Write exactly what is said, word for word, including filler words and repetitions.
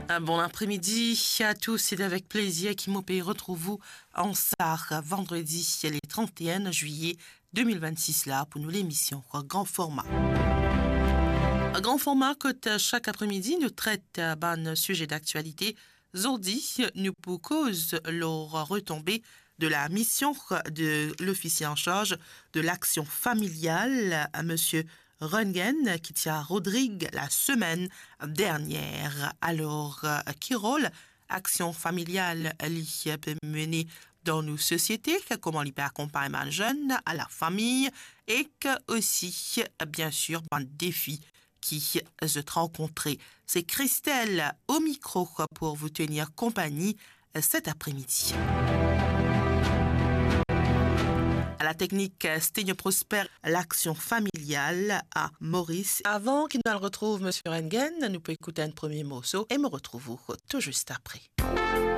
Un bon après-midi à tous, c'est avec plaisir ki mo pe retrouv ou an sa vandredi le trente et un juillet deux mille vingt-six la pou nou lemision Gran Forma. Gran Forma kot sak apremidi nou tret bann size daktialite. Zordi nou pou koz lor retonbe de la mision de lofisie an sarz de laksion familial, misie Röntgen, ki ti a Rodrig la semenn dernier. Alor, ki rol aksion familial li pe mene dan nou sosiete, kouma li pe akonpagn bann zenn, lafami, ek osi, bien sir, bann defi ki zot rankontre. C'est Christelle au micro pour vous tenir compagnie cet après-midi. À la technique, Sténio Prosper, laksion familial a Moris. Avan ki nou al retrouv misie Röntgen, nou pou ekout enn premie morso e mo retrouv ou tou zis apre.